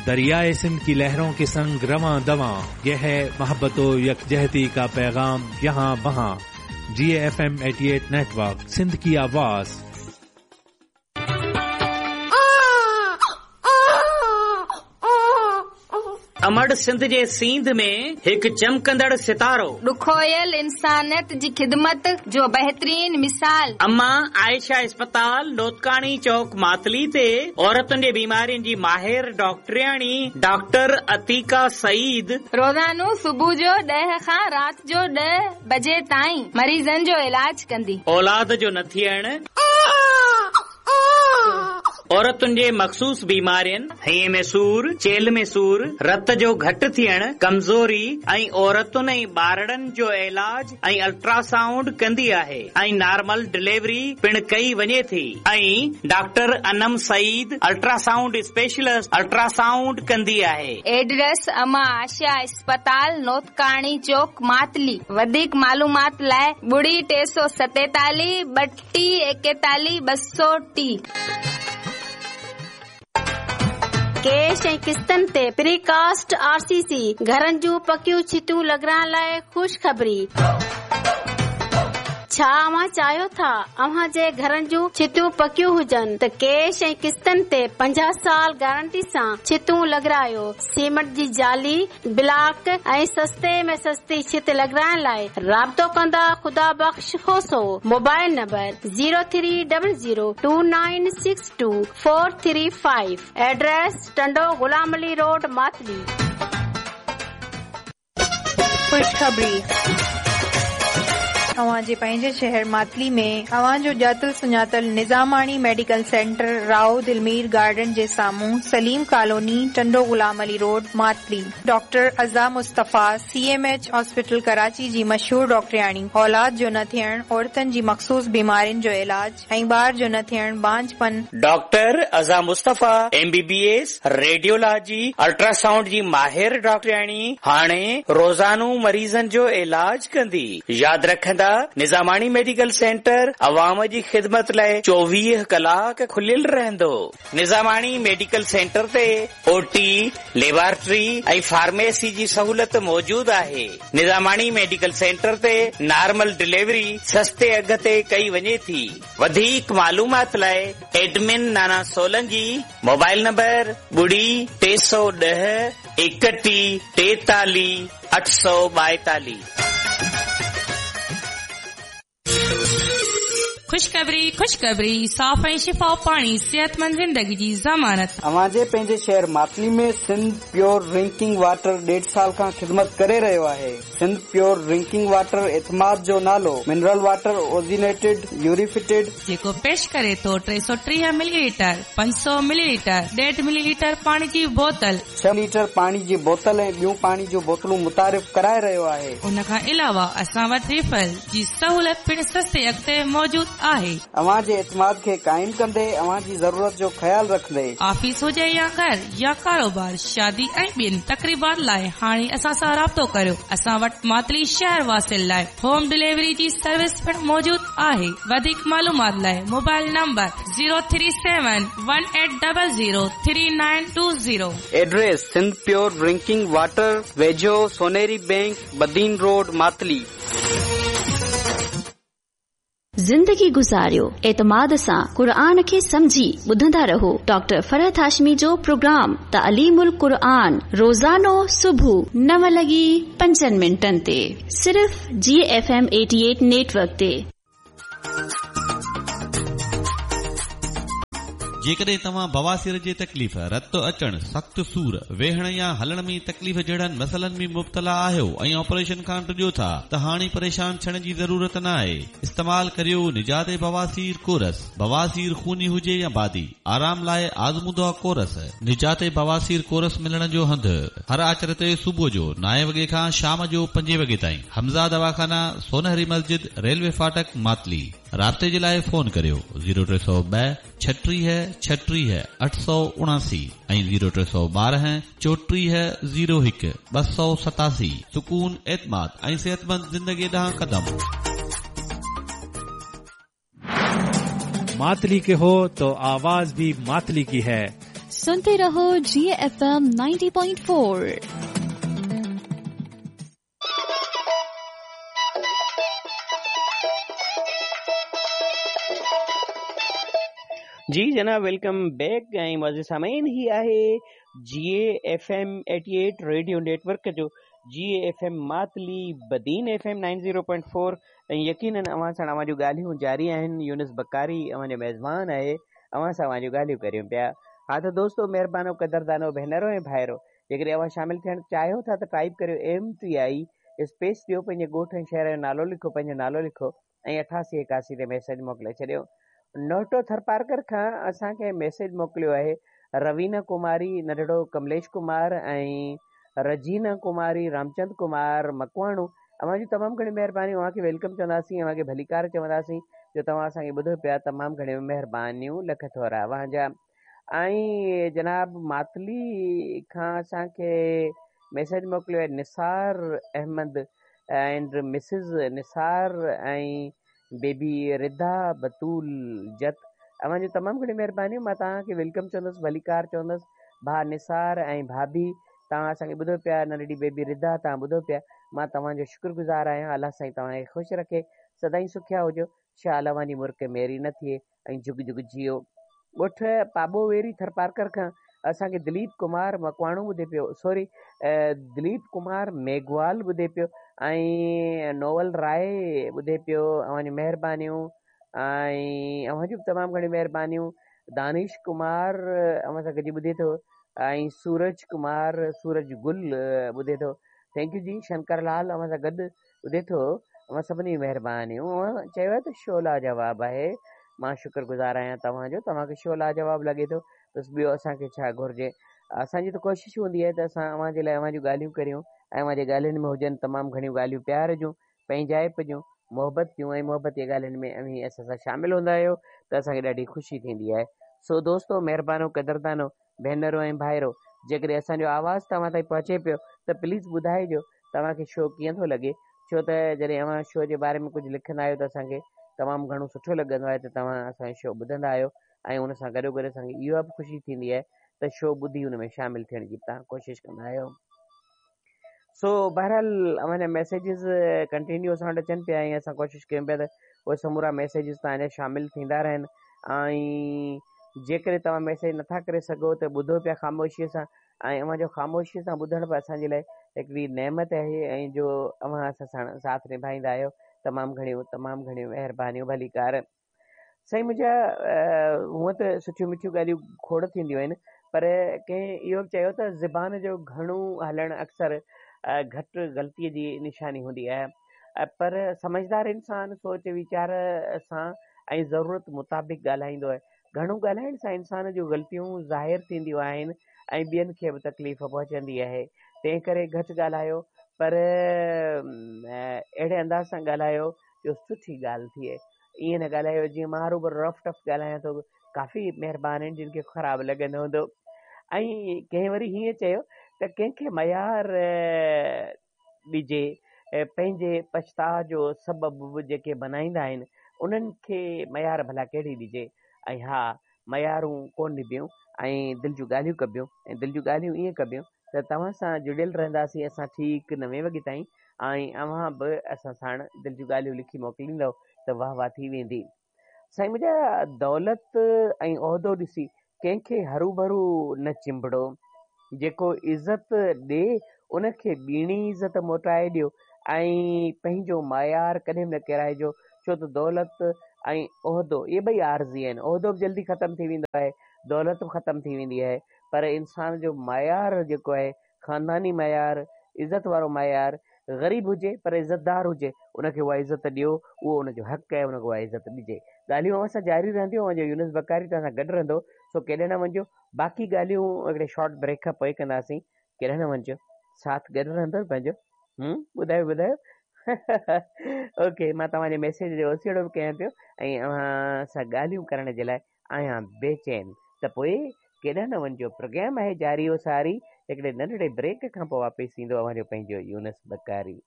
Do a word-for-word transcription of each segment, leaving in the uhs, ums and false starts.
दरियाए सिंध की लहरों के संग रवां दवां, यह है मोहब्बत यकजहती का पैगाम यहाँ वहाँ। G F M eighty eight network, Sindh की आवाज। अमड़ सिंध जे सींध में हिकु चमकंदड़ सितारो, ॾुखोयल इंसानियत जी ख़िदमत जो बहितरीन मिसाल। अम्मा आयशा अस्पताल नोतकाणी चौक मातली ते औरतुनि जे बीमारियुनि जी माहिर डॉक्टरियाणी डॉक्टर अतीका सईद रोज़ानो सुबुह जो ॾह खां राति जो ॾह बजे ताईं मरीज़नि जो इलाज कंदी। औलाद जो न थियण, औरतुनि जे मख़सूस बीमारियुनि, हईं में सूर, चेल में सूर, रत जो घटि थियण, कमज़ोरी ऐं औरतुनि ऐं ॿारड़नि जो इलाज ऐं अल्ट्रासाउंड कंदी आहे ऐं नॉर्मल डिलीवरी पिणु कई वञे थी। ऐं doctor Anam Saeed ultrasound specialist ultrasound कंदी आहे। एड्रेस अमा आशा अस्पताल नोतकाणी चौक मातली। वधीक मालूमात लाइ ॿुड़ी टे सौ सतेतालीह ॿटीह एकेतालीह ॿ सौ टी। कैश ऐं किस्तनि ते प्रीकास्ट आरसीसी घरनि जूं पकियूं छितूं लॻाइण लाइ ख़ुशख़बरी। छा अव्हां चाहियो था अव्हां जे घरनि जूं छितूं पकियूं हुजनि त कैश ऐं किस्तनि ते पंजाह साल गारंटी सां छितूं लॻारायो। सीमेंट जी जाली, ब्लॉक ऐं सस्ते में सस्ती छित लॻाइण लाइ राब्तो कंदा Khuda Bakhsh Khoso. Mobile number zero three double zero two nine six two four three five. Address Tando Ghulam Ali road Matli. ख़ुशख़बरी अव्हां जे पंहिंजे शहर मातली में अव्हां जो ॼातल सुञातल Nizamani medical centre Rao Dilmir garden जे साम्हूं Saleem colony Tando Ghulam Ali road Matli. Doctor Aza Mustafa C M H hospital Karachi जी मशहूर डॉक्टरियाणी औलाद जो न थियण, औरतुनि जी मख़सूस बीमारियुनि जो इलाज ऐं ॿार जो न थियण, बांझपन। Doctor Aza Mustafa M B B S radiology ultrasound जी माहिर डॉक्टरियाणी हाणे रोज़ानो मरीज़नि जो इलाज कंदी। यादि रखंदा निज़ामाणी मेडिकल सेंटर अवाम जी ख़िदमत लाइ चोवीह कलाक खुलियल रहंदो। निज़ामाणी मेडिकल सेंटर ते ओटी, लेबोरेटरी ऐं फार्मेसी जी सहूलत मौजूद आहे। निज़ामाणी मेडिकल सेंटर ते नॉर्मल डिलीवरी सस्ते अघ ते कई वञे थी। वधीक मालूमात लाइ admin Nana Solangi, mobile number ॿुड़ी टे सौ ॾह एकटीह टेतालीह अठ सौ ॿाएतालीह। ख़ुशख़बरी ख़ुशख़बरी, साफ़ ऐं शिफ़ाफ़ पाणी सेहतमंद ज़िंदगी जी ज़मानत। अव्हां जे पंहिंजे शहर मातली में सिंध प्योर ड्रिंकिंग वाटर ॾेढ साल खां ख़िदमत करे रहियो आहे। सिंध प्योर ड्रिंकिंग वाटर एतमाद जो नालो, मिनरल वाटर ओजिनेटेड यूरिफिटेड, जेको पेश करे थो टे सौ टीह मिलीलीटर, पंज सौ मिलीलीटर, ॾेढ मिलीलीटर पाणी जी बोतल, छह लीटर पाणी जी बोतल ऐं ॿियूं पाणी जूं बोतलूं मुतारिफ़ कराए रहियो आहे। उन खां अलावा असां वटि रिफिल जी सहूलत पिणु सस्ते अघ ते मौजूद आहे। अव्हां जे एतमाद खे क़ाइम कंदे अव्हां जी ज़रूरत जो ख़्यालु रखंदे। ऑफिस हुजे या घर या कारोबार, शादी ऐं ॿियनि तक़रीबात लाइ हाणे असां सां राब्तो करियो। असां वटि मातली शहर वासियुनि लाइ होम डिलीवरी जी सर्विस पिणु मौजूद आहे। वधीक मालूमात लाइ mobile number zero three seven one eight double zero three nine two zero. Address Sindh pure drinking water, वेझो Soneri bank, Badin road, Matli. ज़िंदगी गुज़ारियो एतमाद सां क़ुरआन खे सम्झी ॿुधंदा रहो। डॉक्टर फरहत हाशमी जो प्रोग्राम तालीमुल क़ुरआन रोज़ानो सुबुह नव लॻी पंजनि मिंटनि ते सिर्फ़ G F M eighty eight network ते। जेकॾहिं तव्हां बवासीर जी तकलीफ़, रत अचण, सख़्तु सूर, वेहण या हलण में तकलीफ़ जहिड़नि मसइलनि में मुब्तला आहियो ऐं ऑपरेशन खां डिॼो था त हाणे परेशान थियण जी ज़रूरत न आहे। इस्तेमाल करियो निजात बवासीर कोरस। बवासीर खूनी हुजे या बादी, आराम लाइ आज़मूदो कोरस। निजात बवासीर कोरस मिलण जो हंधु हर आचर ते सुबुह जो नाए वॻे खां शाम जो पंजे वॻे ताईं। हमज़ा दवाखाना, सोनहरी मस्जिद, रेलवे फाटक, मातली। राब्ते जे लाइ फ़ोन करियो ज़ीरो टे सौ ॿ छटीह छटीह अठ सौ उणासी ऐं ज़ीरो टे सौ ॿारहं चोटीह ज़ीरो हिकु ॿ सौ सतासी। सुकून, एतमाद ऐं सेहतमंद ज़िंदगी ॾांहुं कदम। मातली के हो तो आवाज भी मातली की है। सुनते रहो G F M ninety point four. जी जनाब, welcome back. ऐं मुअज़्ज़िज़ सामीन, ही आहे G F M eighty eight radio network जो G F M Matli Badin F M nine zero point four. ऐं यकीनन अव्हां सां अव्हां जूं ॻाल्हियूं जारी आहिनि। यूनुस बकारी अव्हां जो मेज़बान आहे, अव्हां सां अव्हां जूं ॻाल्हियूं करियूं पिया। हा त दोस्तो, महिरबानो, कदरदानो, भेनरो ऐं भाइरो, जेकॾहिं अव्हां शामिल थियणु चाहियो था त टाइप करियो एम टी I space ॾियो, पंहिंजे ॻोठ ऐं शहर जो नालो लिखो, पंहिंजो नालो लिखो ऐं अठासी एकासी ते मैसेज मोकिले छॾियो। नोटो थरपारकर खां असांखे मैसेज मोकिलियो आहे रवीना कुमारी, नंढड़ो कमलेश कुमार ऐं रजीना कुमारी, रामचंद कुमार मकवाणो। अव्हां जूं तमामु घणियूं महिरबानियूं। अव्हांखे welcome चवंदासीं, अव्हांखे भलीकार चवंदासीं जो तव्हां असांखे ॿुधो पिया। तमामु घणियूं महिरबानियूं, लख थोरा अव्हांजा। ऐं जनाब मातली खां असांखे मैसेज मोकिलियो आहे निसार अहमद एंड मिसिज निसार ऐं बेबी रिदा बतूल जत। अव्हां जूं तमामु घणियूं महिरबानियूं। मां तव्हांखे welcome चवंदुसि, भलीकार चवंदुसि। भाउ निसार ऐं भाभी, तव्हां असांखे ॿुधो पिया। नंढड़ी बेबी रिदा, तव्हां ॿुधो पिया। मां तव्हांजो शुक्रगुज़ार आहियां। अलाह साईं तव्हांखे ख़ुशि रखे, सदाईं सुखिया हुजो। शाल अव्हांजी मुर्क मेरी न थिए ऐं जुग जुग जियो। ॻोठ पाबो वेरी थरपारकर खां असांखे दिलीप कुमार मकवाणो ॿुधे पियो, सॉरी दिलीप कुमार मेघवाल ॿुधे पियो ऐं नोवल राय ॿुधे पियो। अव्हांजूं महिरबानियूं ऐं अव्हां जूं बि तमामु घणियूं महिरबानियूं। दानिश कुमार अव्हां सां गॾिजी ॿुधे थो ऐं सूरज कुमार सूरज गुल ॿुधे थो। Thank you जी। शंकर लाल अव्हां सां गॾु ॿुधे थो। अव्हां सभिनी जूं महिरबानियूं। अव्हां चयो आहे त शो लाजवाब आहे, मां शुक्रगुज़ार आहियां तव्हांजो। तव्हांखे शो लाजवाब लॻे थो, बसि ॿियो असांखे छा घुरिजे। असांजी त कोशिशि हूंदी आहे त असां अव्हां जे लाइ अव्हां जूं ॻाल्हियूं करियूं ऐं अव्हां जे ॻाल्हियुनि में हुजनि तमामु घणियूं ॻाल्हियूं प्यार जूं, पंहिंजाइप जूं, मोहबत जूं ऐं मोहबत जी ॻाल्हियुनि में अव्हीं असां सां शामिल हूंदा आहियो त असांखे ॾाढी ख़ुशी थींदी आहे। सो दोस्तो, महिरबानो, कदरदानो, भेनरो ऐं भाइरो, जेकॾहिं असांजो आवाज़ तव्हां ताईं पहुचे पियो त प्लीज़ ॿुधाइजो तव्हांखे शो कीअं थो लॻे। छो त जॾहिं अव्हां शो जे बारे में कुझु लिखंदा आहियो त असांखे तमामु घणो सुठो लॻंदो आहे त तव्हां असांजो शो ॿुधंदा आहियो ऐं उन सां गॾो गॾु असांखे इहा बि ख़ुशी थींदी आहे त शो ॿुधी उन में शामिल थियण जी तव्हां कोशिशि कंदा आहियो। सो बहरहाल अव्हांजा मैसेजिस कंटिन्यू असां वटि अचनि पिया ऐं असां कोशिशि कयूं पिया त उहे समूरा मैसेजिस तव्हांजा शामिल थींदा रहनि। ऐं जेकॾहिं तव्हां मैसेज नथा करे सघो त ॿुधो पिया ख़ामोशीअ सां ऐं अव्हांजो ख़ामोशीअ सां ॿुधणु बि असांजे लाइ हिकिड़ी नेमत आहे ऐं जो अव्हां असां सां साथ निभाईंदा आहियो। तमामु घणियूं तमामु घणियूं महिरबानियूं, भलीकार। साईं मुंहिंजा, हूअं त सुठियूं मिठियूं ॻाल्हियूं खोड़ थींदियूं आहिनि, पर कंहिं इहो बि चयो त ज़बान जो घणो हलणु अक्सर घटि ग़लतीअ जी निशानी हूंदी आहे, पर समझदार इंसान सोच वीचार सां ऐं ज़रूरत मुताबिक़ ॻाल्हाईंदो आहे। घणो ॻाल्हाइण सां इंसान जूं ग़लतियूं ज़ाहिर थींदियूं आहिनि ऐं ॿियनि खे बि तकलीफ़ पहुचंदी आहे। तंहिं करे घटि ॻाल्हायो, पर अहिड़े अंदाज़ सां ॻाल्हायो जो सुठी ॻाल्हि थिए। ईअं न ॻाल्हायो जीअं मां हरोभरो रफ टफ ॻाल्हायां थो। काफ़ी महिरबान आहिनि जिन खे ख़राबु लॻंदो हूंदो। ऐं कंहिं वरी हीअं चयो त कंहिंखे मयार ॾिजे, पंहिंजे पछताव जो सबबु जेके बनाईंदा आहिनि उन्हनि खे मयार भला कहिड़ी ॾिजे। ऐं हा, मयारूं कोन ॾिबियूं ऐं दिलि जूं ॻाल्हियूं कबियूं ऐं दिलि जूं ॻाल्हियूं ईअं कबियूं त तव्हां सां जुड़ियल रहंदासीं असां ठीकु नवे वॻे ताईं ऐं अव्हां बि असां साण दिलि जूं ॻाल्हियूं लिखी मोकिलींदव त वाह वाह थी वेंदी। साईं मुंहिंजा, दौलत ऐं उहिदो ॾिसी कंहिंखे हरू भरू न चिंबड़ो। जेको इज़त ॾे उनखे ॿीणी इज़त मोटाए ॾियो ऐं पंहिंजो मायार कॾहिं बि न किराइजो। छो त दौलत ऐं उहिदो इहे ॿई आर्ज़ी आहिनि। उहिदो बि जल्दी ख़तमु थी वेंदो आहे, दौलत बि ख़तमु थी वेंदी आहे, पर इंसान जो मायार जेको आहे, ख़ानदानी मायार, इज़त वारो मायार, ग़रीब हुजे पर इज़तदार हुजे, उनखे उहा इज़त ॾियो, उहो उनजो हक़ आहे, उनखे उहा इज़त ॾिजे। ॻाल्हियूं अव्हां सां जारी रहंदियूं। अव्हांजो यूनुस बकारी तव्हां सां गॾु रहंदो, सो केॾे न वञिजो। बाक़ी ॻाल्हियूं हिकिड़े शॉर्ट ब्रेक खां पोइ कंदासीं, केॾे न वञिजो, साथ गॾु रहंदो पंहिंजो। हम्म, ॿुधायो ॿुधायो। ओके, मां तव्हांजे मैसेज जो ओसियड़ो बि कयां पियो ऐं अव्हां सां ॻाल्हियूं करण जे लाइ आहियां बेचैन। त पोइ केॾे न वञिजो, प्रोग्राम आहे जारी ओ सारी। हिकिड़े नंढड़े ब्रेक खां पोइ वापसि ईंदो अव्हांजो पंहिंजो यूनुस बकारी।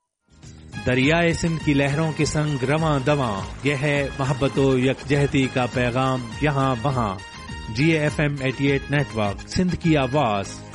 दरियाए सिंध की लहरों के संग रवां दवां, यह है मोहब्बत यकजहती का पैगाम यहाँ वहाँ। G F M अठासी नेटवर्क, सिंध की आवाज़।